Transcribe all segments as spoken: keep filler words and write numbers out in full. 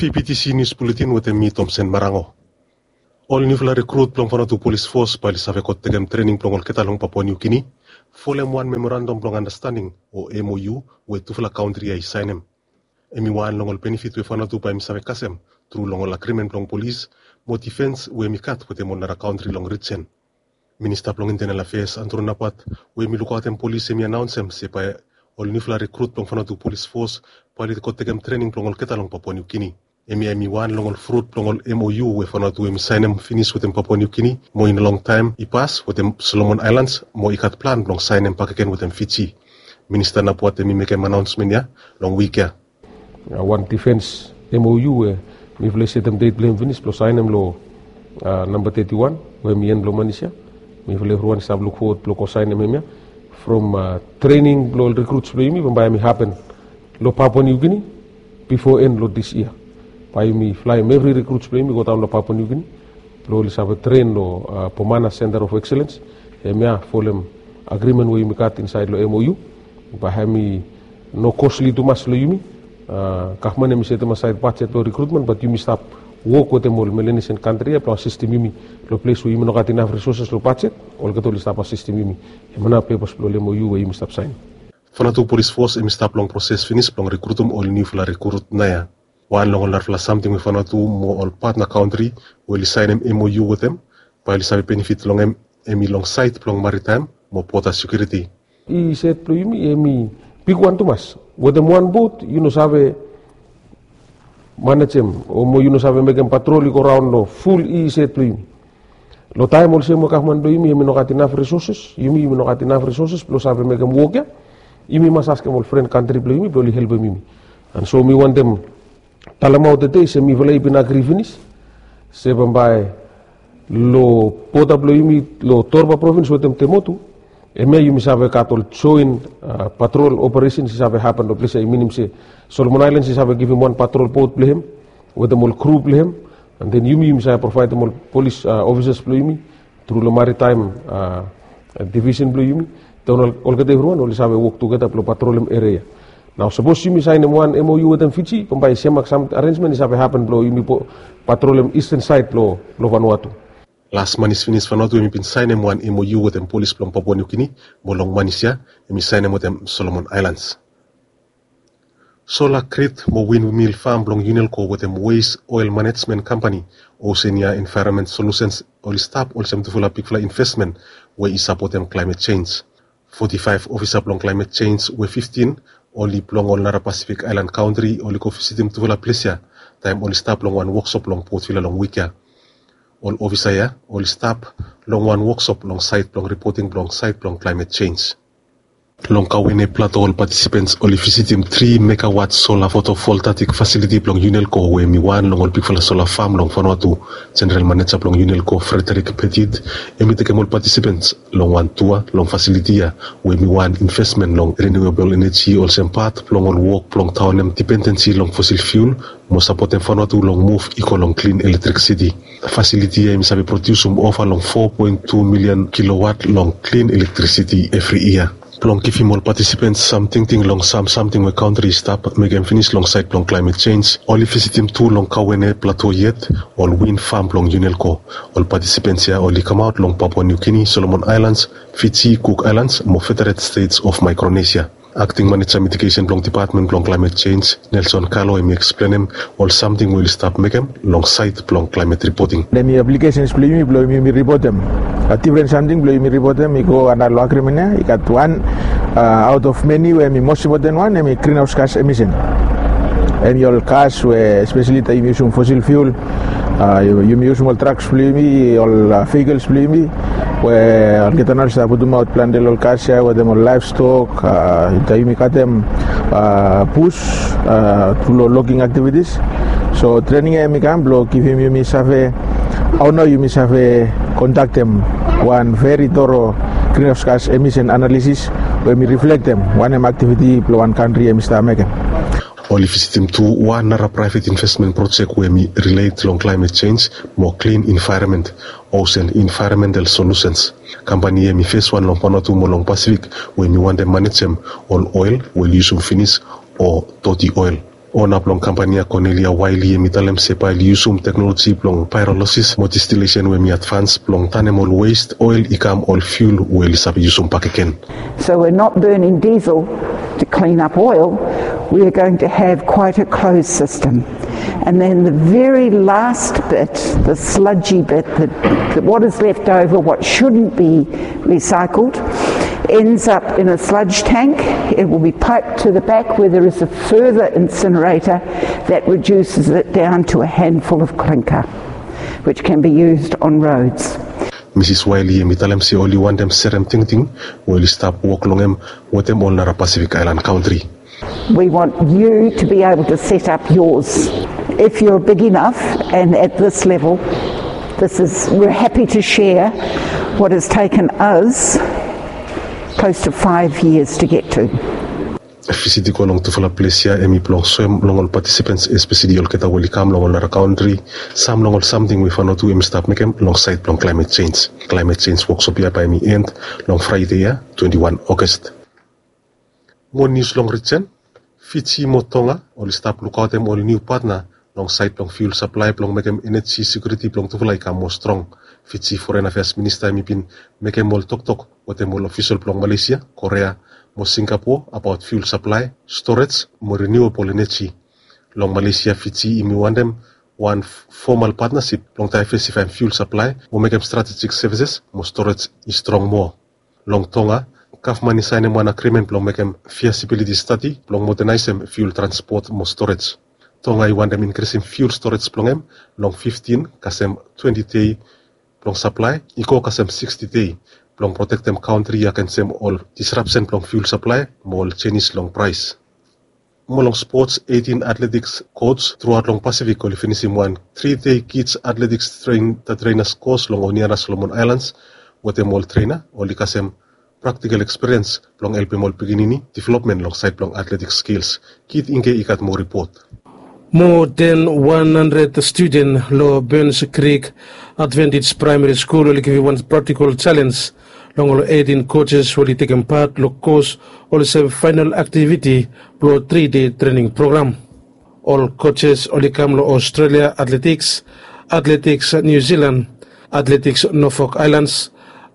P P T C News Bulletin wetem mi, Tomsen Marango. Ol niufala rekrut blong Vanuatu Polis Fos bae oli save go tekem trening blong olgeta long Papua Niu Gini, folem wan memorandum blong andastanding o M O U we tufala kantri ya i saenem. Hemi wan long ol benefit we Vanuatu bae hemi save kasem tru long ol agrimen blong polis mo difens we hemi gat wetem ol nara kantri long rijen. Minista blong Internal Affairs, Andrew Napat, we hemi lukaotem polis, hemi anaonsem se bae ol niufala rekrut blong Vanuatu Polis Fos bae oli go tekem trening blong olgeta long Papua Niu Gini. Hemia hemi wan long ol frut blong ol M O U we Vanuatu hemi saenem finis wetem Papua Niu Gini mo i no longtaem i pas wetem Solomon Aelans mo i gat plan blong saenem bakegen wetem Fiji. Minista Napat hemi mekem anaonsmen ya long wik ya. Wan difens M O U we mifala i setem det blong hem finis blong saenem long namba teti wan we hemi en blong manis ya. Mifala evriwan i stap lukfowod blong go saenem hemia from trening blong ol rekruts blong yumi bambae hemi hapen long Papua Niu Gini bifo en long dis yia. Bae yumi flaem evri rekruts blong yumi godaon long Papua Niu Gini blong oli save tren long Pomana Center of Excellence. Hemia folem agrimen we yumi gat insaed long M O U. Bae hemi no kosli tumas long yumi. Gavman hemi setem asaed bajet blong rekrutmen, bat yumi stap wok wetem ol Melanesian kantri ya blong asistem yumi long ples we yumi no gat inaf risoses long bajet. Olgeta oli stap asistem yumi. Hemia nao pepas blong ol M O U we yumi stap saen. Vanuatu Polis Fos hemi stap long proses finis blong rekrutum ol niufala rekrut naoia. Wan long ol narafala samting we Vanuatu mo ol patna kantri we oli saenem M O U wetem bae oli save benefit long hem, hemi long saed blong maritaem mo boda sekiuriti. EEZ blong yumi hemi bigwan tumas. Wetem wan bot yu no save manejem o mo yu no save mekem patrol i go raon long ful EEZ blong yumi. Long taem olsem we gavman blong yumi hemi no gat inaf risoses, yumi yumi no gat inaf risoses blong save mekem wok ya, yumi mas askem ol fren kantri blong yumi blong oli helpem yumi. And so mi wantem talemaot tede se mifala i bin agri finis se bambae long boda blong yumi long Torba provins wetem Temotu, hemia yumi save gat ol joen patrol operesens i save hapen long ples ya. I minim se Solomon Aelans i save givim wan patrol bot blong hem wetem ol kru blong hem. And then yumi yumi save provaedem ol polis ofisas blong yumi tru long maritaem divisen blong yumi. Then olgeta evriwan oli save wok tugeta blong patrolem eria ya. Nao sapos yumi saenem wan M O U wetem Fiji bambae i semak sam arensmen i save hapen blong yumi patrolem isten saed blong Vanuatu. Las manis finis Vanuatu hemi bin saenem wan M O U wetem polis blong Papua Niu Gini mo long manis ya hemi saenem wetem Solomon Aelans. Sola grid mo windmill fam blong Unelco wetem Waste Oil Management Company, Oceania Environment Solutions, oli stap olsem tufala bigfala investmen we i sapotem climate change. Foti faef ofisa blong climate change we fiftin oli blong ol nara Pasifik aelan kantri oli go visitim tufala ples ya taem oli stap long wan woksop long Port Vila long wik ya. Ol ofisa ya oli stap long wan woksop long saed blong ripoting blong saed blong climate change. Long Kauene Plato ol patisipens oli visitim tri megawat sola fotovoltaik fasiliti blong Unelco we hemi wan long ol bigfala sola fam long Vanuatu. Jeneral maneja blong Unelco, Frederick Petit, hemi tekem ol patisipens long wan tua long fasiliti ya we hemi wan investmen long renewable energy olsem pat blong ol wok blong daonem dipendensi long fosil fiul mo sapotem Vanuatu long muv i go long klin elektrisiti. Fasiliti ya hemi save prodiusum ova long fo poen tu milian kilowat long klin elektrisiti evri yia. Blong givim ol patisipens sam tingting long sam samting we kantri i stap mekem finis long saed blong climate change, oli visitim tu long Kauene Plato yet ol win fam blong Unelco. Ol patisipens ya oli kamaot long Papua Niu Gini, Solomon Aelans, Fiji, Cook Islands mo Federated States of Micronesia. Akting maneja mitigesen blong dipatmen blong climate change, Nelson Kalo, hemi eksplenem ol samting we oli stap mekem long saed blong climate ripoting. Hemi aplikesens blong yumi blong yumi ripotem. Difren samting blong yumi ripotem i go antap long agrimen ya. I gat wan aot of meni we hemi mos impoten wan, hemi grinhaos gas emisen. Hemi ol gas we espeseli taem yumi yusum fosil fiul, yumi yusum ol traks blong yumi, ol vehikels blong yumi, we olgeta nao oli stap putumaot plante long ol gas ya wetem ol laevstok, taem yumi katem bus tru long logging aktivitis. So trening ya hemi kam blong givim yumi save hao nao yumi save kondaktem wan veri toro grinhaos gas emisen analisis we hemi riflektem wanem aktiviti blong wan kantri hemi stap mekem. Oli visitim tu wan nara praevet investmen projek we hemi rilet long climate change mo klin envaeronmen, Ocean Environmental Solutions. Kampani ya hemi feswan long Vanuatu mo long Pasifik we hemi wantem manejem ol oel we oli yusum finis o doti oel. Ona blong kampani ya, Cornelia Wiley, hem i talem se bae oli yusum teknoloji blong paerolosis mo distilesen we hem i advans blong tanem ol west oel i kam ol fiul we oli save yusum bakegen. So we're not burning diesel to clean up oil, we are going to have quite a closed system. And then the very last bit, the sludgy bit, the, the, what is left over, what shouldn't be recycled, ends up in a sludge tank. It will be piped to the back where there is a further incinerator that reduces it down to a handful of clinker, which can be used on roads. Misis Wiley hem i talem se oli wantem serem tingting we oli stap wok long hem wetem ol nara Pacific Island kantri. We want you to be able to set up yours if you're big enough, and at this level, this is, we're happy to share what has taken us close to five years to get to. Visit i go long tufala ples ya hem i blong soem long ol patisipants, espeseli olgeta we oli kam long ol nara kantri, sam long ol samting we Vanuatu hem i stap mekem long saed blong klaemet jenj. Klaemet jenj woksop ya bae hem i end long Fraede ya, twenti wan August. Mo nius long rijen. Fiji mo Tonga oli stap lukaotem ol niu patna long saed blong fiul saplae blong mekem eneji sekiuriti blong tufala i kam mo strong. Fiji Foren Afeas Minista hem i bin mekem ol toktok wetem ol ofisol blong Malesia, Korea mo Singapo abaot fiul saplae, storej mo riniuabol eneji. Long Malesia, Fiji hem i wantem wan fomal patnasip blong daevesifaem fiul saplae mo mekem stratejik sevises mo storej i strong moa. Long Tonga, gavman i saenem wan agrimen blong mekem fiasibiliti stadi blong modanaesem fiul transpot mo storej. Tonga i wantem inkrisim fiul storej blong hem long fiftin kasem twenti dei blong saplae i go kasem siksti dei blong protektem kantri agensem ol disrapsen blong fiul saplae mo ol jenis long praes. Mo long spots, eitin atletiks koj truaot long Pasifik oli finisim wan tri dei kids atletiks trenas kos long Honiara Solomon Aelans wetem ol trena oli kasem praktikal ekspiriens blong helpem ol pikinini developmen long saed blong atletiks skils. Kit Ingke i gat moa ripot. Moa den wan handred studen long Burns Creek Adventist Praemari Skul oli givim wan praktikal jalenj long ol eitin kojes we oli tekem pat long kos olsem faenal aktiviti blong tri dei trening program. Ol kojes oli kam long Australia Athletics, Athletics New Zealand, Athletics Norfolk Islands,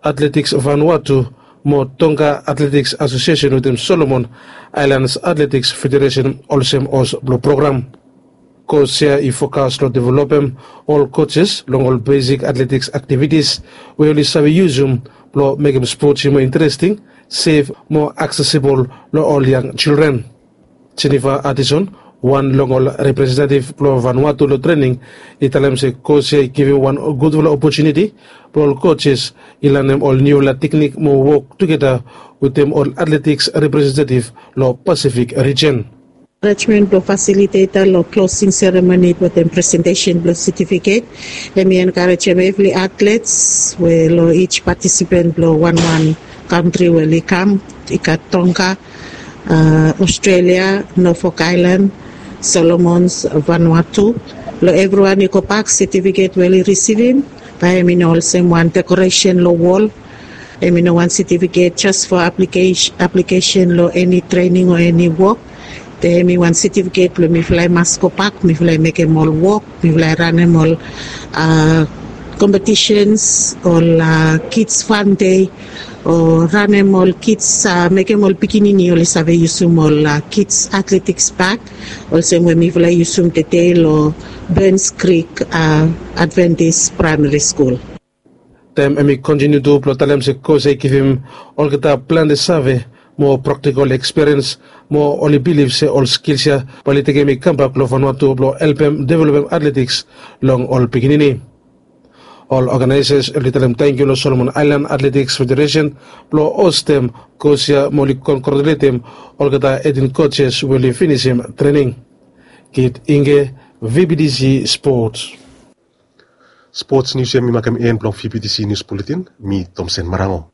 Athletics Vanuatu mo Tonga Athletics Association wetem Solomon Islands Athletics Federation olsem hos blong program. Kos ya i fokas long developem ol kojes long ol besik atletiks aktivitis we oli save yusum blong mekem spots i moa interesting, sef mo aksesibol long ol yang jildren. Jennifer Addison, wan long ol representetiv blong Vanuatu long trening, i talem se kos ya i givim wan gudfala opotuniti blong ol kojes i lanem ol niufala teknik mo wok tugeta wetem ol atletiks representetiv long Pasifik rijen. Enkarejmen blong fasiliteta long klosing seremoni wetem presentesen blong setifiket. Hem i enkarejem evri atlets we long ij patisipen blong wanwan kantri we oli kam, i gat Tonga, Australia, Norfolk Island, Solomons, Vanuatu. Long evriwan i gobak setifiket we oli risivim, bae hem i no olsem wan dekoresen long wol. Hem i no wan setifiket jes fo aplikesen long eni trening o eni wok. Be hem i wan setifiket blong mifala i mas gobak, mifala i mekem ol wok, mifala i ranem ol kompetisens, ol kids fan dei, o ranem ol kids, mekem ol pikinini oli save yusum ol kids atletiks bak olsem we mifala i yusum tede long Burns Creek Adventist Primary School. Taem hem i kontiniu tu blong talem se kos ya i givim olgeta plante save mo praktikol ekspiriens mo oli bilif se ol skils ya bae oli tekem i kambak long Vanuatu blong helpem developem atletiks long ol pikinini. Ol oganaesas oli talem tangkiu long Solomon Aelan Atletiks Federesen blong hostem kos ya mo oli kongratuletem olgeta eitin kojes we oli finisim trening. Kit Ingke, VBTC Sports. Spots nius ya mi makem en blong VBTC Nius Buletin. Mi Tomsen Marango.